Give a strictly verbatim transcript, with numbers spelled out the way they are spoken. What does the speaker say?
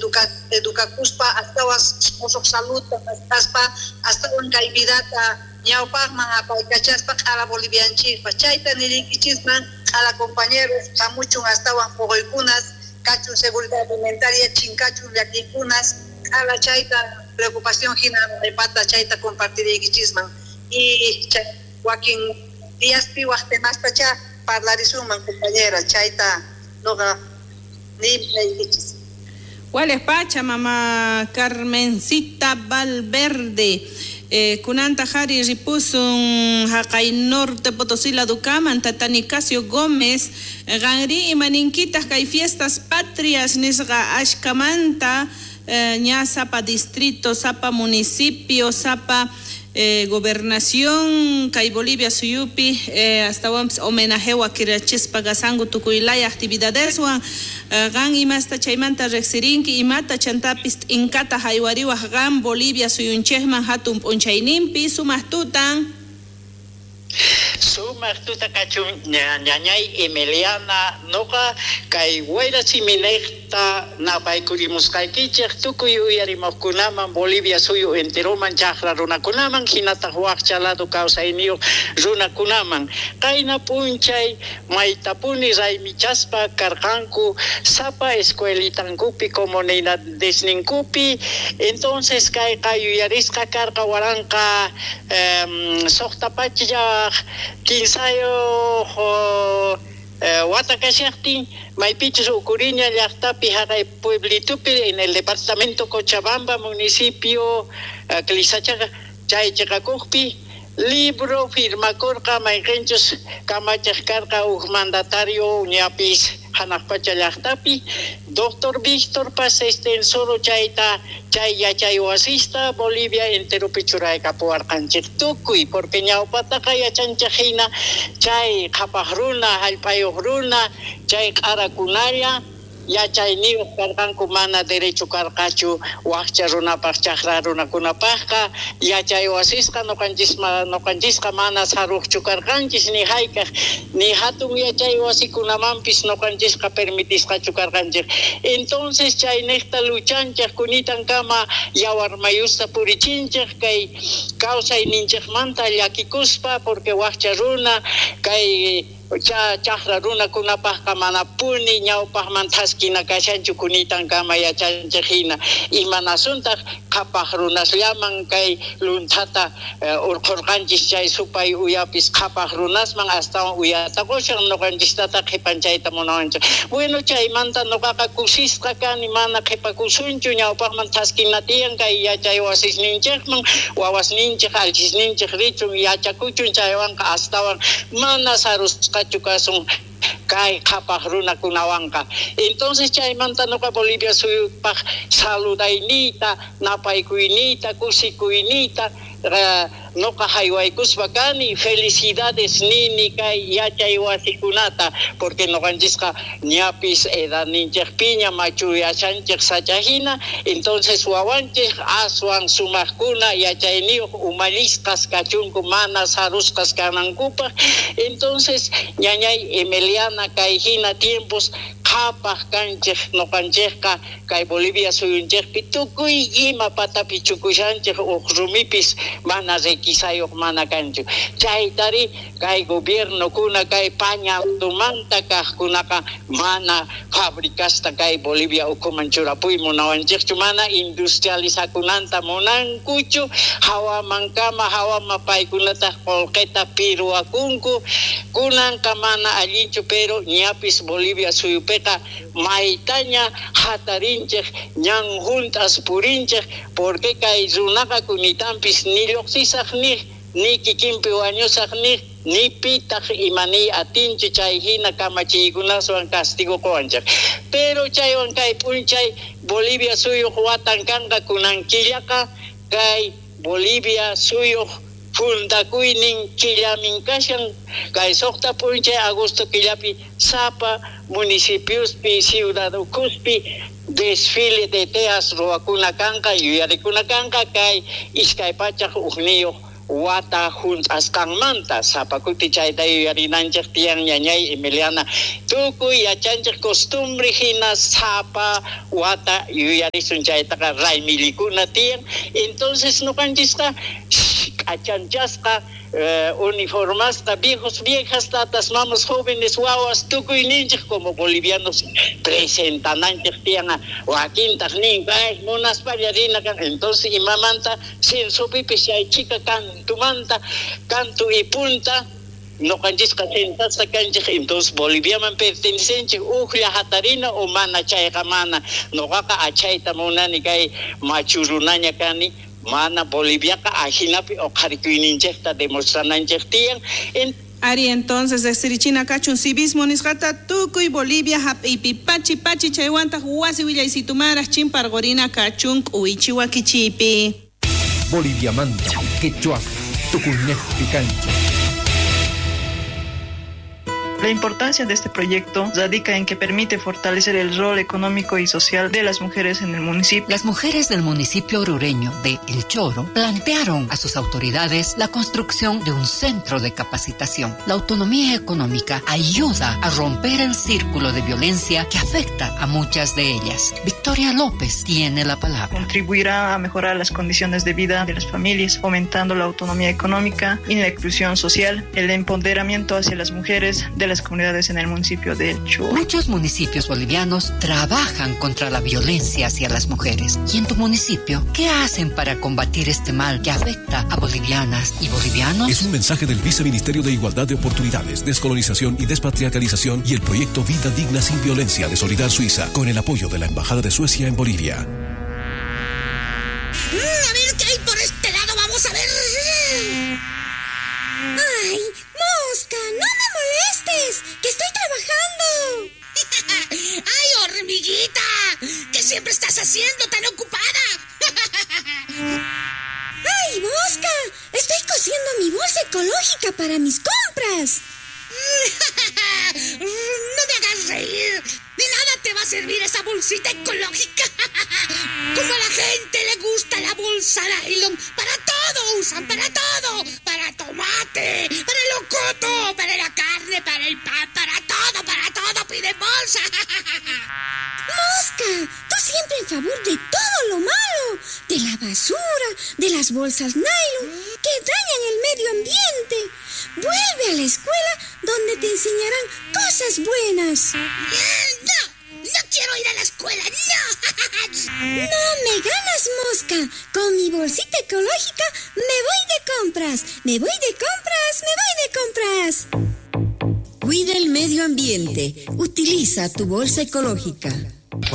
educa edukakuspa astawan musuq saludta maskhaspa astawan kay vidata ñawpaqman apaykachaspa q'ala bolivianchikpaq chayta niriykichisman q'ala compañeros hamuchun astawan puquykunas kachun seguridad alimentaria chinkachun llakiykunas q'ala chayta preocupación hina pata chayta compartiriykichisman y chay wakin diaspi waq temastacha parlarisunman compañera chayta noqa niykichis. Wales pacha mama Carmencita Valverde. Eh, kunanta jari ripusun haqay norte Potosí ladukaman tata Nicasio Gómez qanri imaninkitaj kay fiestas patrias nisqa ashkamanta eh, ña sapa distrito, sapa municipio, sapa eh, gobernación kay Bolivia suyupi eh, astawanpis homenajewa kirachispa kasanku tukuylaya actividadeswan eh, qan imasta chaymanta riqsirinki imata chantapis t'inkata haywariwaj qan Bolivia suyunchikman hatun p'unchayninpi sumaq tutan. Sumaq tuta kachun ñañay Emiliana noqa kay wayra siminejta napaykurimusqaykichej tukuy uyarimuqkunaman Bolivia suyu enteroman chaqra runakunaman hinataq waqcha lado kawsayniyuq runakunaman qayna p'unchay maytapuni raymichaspa karqanku sapa escuelitankupi comunidadesninkupi entonces kayqa yuyarisqa karqa waranqa um, suqta pachaq kinsayuq wata kashaqtin maypichus Ucuriña llaqtapi haqay pueblitupi en el departamento Cochabamba municipio Clisachaqa chay chiqakuqpi libro firmakurqa mayqinchus kamachaq karqa huk mandatario ñapis hanaq pacha llaqtapi doctor Víctor Paz Estenssoro chayta chay yachay wasista Bolivia enteropi churaykapuwarqanchik tukuy porque ñawpataqa yachanchik hina chay qhapaq runa hallp'ayuq runa chay q'arakunalla yachayniyuq karqanku mana derecho karqachu waqcha runapaq chaqra runakunapaqqa yachay wasisqa nuqanchisma nuqanchisqa mana saruqchu karqanchis ni hayk'aq ni hatun yachay wasikunamanpis nuqanchisqa permitisqachu karqanchik entonces chayniqta luchanchik kunitankama yawarmayusta purichinchik kay kawsayninchikmanta llakikuspa porque waqcha runa kay cha chaqra runakunapaqqa manapuni ñawpaqman thaskina kashanchu kunitankama yachanchik hina imanasuntaq qhapaq runasllaman kay lunthata urqhurqanchis chay supay uyapis qhapaq runasman astawan uyata qushan nuqanchistata qhipanchayta munawanchik bueno chaymanta nuqaqa kusisqa kani mana qhipakusunchu ñawpaqman thaskina tiyan kay yachay wasisninchikman wawasninchik alchisninchik richun yachakuchun chaywanqa astawan mana sarusqa kasun kay qhapaq runakunawanqa entonces chaymanta nuqa Bolivia suyupaq saludayniyta napaykuyniyta kusikuyniyta nuqa haywaykuspa kani felicidades nini kay yachay wasikunata porque nuqanchisqa ñapis edadninchikpiña machuyashanchik sachahina entonces wawanchik aswan sumaqkuna yachayniyuq umallisqas kachunku mana sarusqas kanankupaq entonces ñañay Emiliana kay hina tiempos qhapaq kanchik nuqanchikqa kay Bolivia suyunchikpi tukuy ima patapi chukushanchik uq rumipis mana requisayuq mana kanchu chaytari kay gobiernokuna kay pañaltumanta kaqkunaqa mana fabricasta kay Bolivia ukhuman churapuy munawanchikchu mana industrializakunanta munankuchu hawamankama hawama paykunataq qullqita pirwakunku kunanqa mana allinchu pero ñapis Bolivia suyupiqa maytaña hatarinchik ñan juntas purinchik porque kay runaqa kunitanpis ni lluqsisaq niq ni kikinpi wañusaq niq ni pitaq imaniy atinchu chay hina kamachiykunaswan castigo quwanchik pero chaywan kay p'unchay Bolivia suyuq watan kanqa kunan killaqa kay Bolivia suyuq fundakuynin killamin kashan kay suqta p'unchay agosto killapi sapa municipiospi ciudad ukhuspi desfile de teas ruwakuna kanqa yuyarikuna kanqa kay iskay pachaq ukniyuq wata junt'asqanmanta sapa kuti chayta yuyarinanchej tiyan ñañay Emiliana tukuy yachanchej costumbre hina sapa wata yuyarisun chaytaqa raymillikuna tiyan entonces nuqanchisqa k'achanchasqa eh, uniformasqa viejos viejas tatas mamas jóvenes wawas tukuyninchej como bolivianos presentananchej tiyan wakintaq nin ay munaspalla rina kan entonces imamanta censopipis chay chika kantumanta kantu y punta noqanchisqa sentasqa kanchej entonces Boliviaman pertenecenchej ujlla hatarina o mana chayqa mana noqaqa achayta munani kay machurunaña kani mana Boliviaqa ajinapi uqharikuyninchejta demostrananchej tiyan. Ari entonces desirichina kachun civismo nisqata tukuy Bolivia hap'ipi pachi pachi chaywantaq wasi willaysitumara chimparqurina kachun k'uwichi wakichipi. Boliviamanta quechua tukuynejpi kanchej. La importancia de este proyecto radica en que permite fortalecer el rol económico y social de las mujeres en el municipio. Las mujeres del municipio orureño de El Choro plantearon a sus autoridades la construcción de un centro de capacitación. La autonomía económica ayuda a romper el círculo de violencia que afecta a muchas de ellas. Victoria López tiene la palabra. Contribuirá a mejorar las condiciones de vida de las familias, fomentando la autonomía económica y la inclusión social, el empoderamiento hacia las mujeres de las comunidades en el municipio de El Choro. Muchos municipios bolivianos trabajan contra la violencia hacia las mujeres. ¿Y en tu municipio qué hacen para combatir este mal que afecta a bolivianas y bolivianos? Es un mensaje del Viceministerio de Igualdad de Oportunidades, Descolonización y Despatriarcalización y el proyecto Vida Digna sin Violencia de Solidar Suiza, con el apoyo de la Embajada de Suecia en Bolivia. A ver qué hay por este lado, vamos a ver. ¡Ay, mosca! ¡No me molestes! ¡Que estoy trabajando! ¡Ay, hormiguita! ¿Qué siempre estás haciendo tan ocupada? ¡Ay, mosca! Estoy cosiendo mi bolsa ecológica para mis compras. ¡No me hagas reír! ¡De nada te va a servir esa bolsita ecológica! Como a la gente le gusta la bolsa nylon, para todo usan, para todo. Para tomate, para el locoto, para la carne, para el pan, para todo, para todo piden bolsa. ¡Mosca! Tú siempre en favor de todo lo malo, de la basura, de las bolsas nylon, que dañan el medio ambiente. Vuelve a la escuela donde te enseñarán cosas buenas. ¡No! ¡No quiero ir a la escuela! ¡No! ¡No me ganas, mosca! Con mi bolsita ecológica me voy de compras. ¡Me voy de compras! ¡Me voy de compras! Cuida el medio ambiente. Utiliza tu bolsa ecológica.